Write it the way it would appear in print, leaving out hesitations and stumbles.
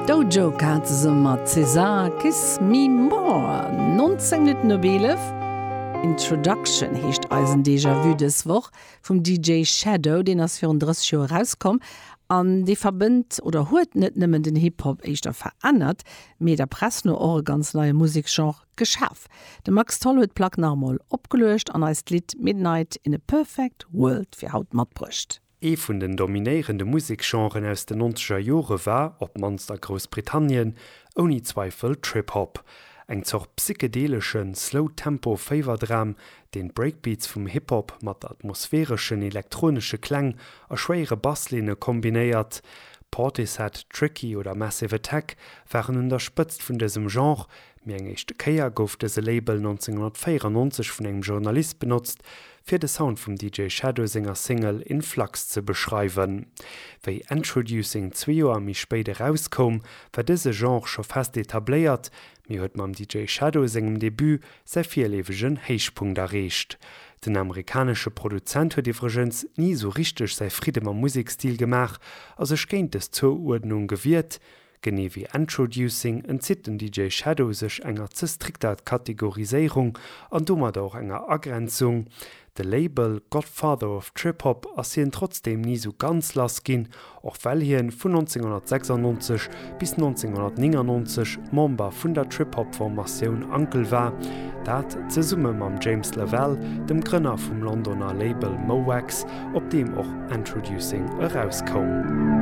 Dojo Cat zesumme mat César, Kiss Me More. 19 Minutten op 11. Introduction heescht eisen Déjà-vu dës Woch vum DJ Shadow. Deen ass virun 30 Joer erauskomm an dee verbënnt oder huet net nëmmen den Hip-Hop éischter verännert, mee der Press no och e ganz neie Museksgenre geschaf. De Max Tholl huet d'Plack nach emol opgeluecht an eis d'Lidd Midnight in a Perfect World fir haut matbruecht. Ee vun den dominéierende Museksgenren aus den nonzeger Jore war, op d'mannst a Groussbritannien, ouni Zweifel Trip Hop. Eng Zort psychedeleschen, Slow-Tempo-Féiwerdram, deen d'Breakbeats vum Hip Hop mat atmosphäreschen elektronesche Kläng a schwéiere Basslinne kombinéiert. Portishead, Tricky oder Massive Attack waren un der Spëtzt vun dësem Genre, Mee eng éischte Kéier gouf dëse Label 1994 vun engem Journalist benotzt, fir de Sound vum DJ Shadow senger Single In Flux ze beschreiwen. Wéi Endtroducing zwee Joer méi spéit erauskoum, war dëse Genre scho fest etabléiert, mee huet mam DJ Shadow sengem Debut säi virleefegen Héichpunkt erreecht. Den amerikanesche Produzent huet iwwregens ni esou richteg säi Fridde mam Musekstil gemaach a sech géint dës Zouuerdnung gewiert. Genee wéi Endtroducing entzitt den DJ Shadow sech enger ze strikter Kategoriséierung an domadder och enger Agrenzung. De Label Godfather of Trip Hop ass hien trotzdeem ni sou ganz lass ginn, och well hien vun 1996 bis 1999 Member vun der Trip Hop Formatioun Uncle war, dat zesumme mam James Lavelle, dem Grënner vum Londoner Label Mo' Wax, op deem och Endtroducing erauskoum.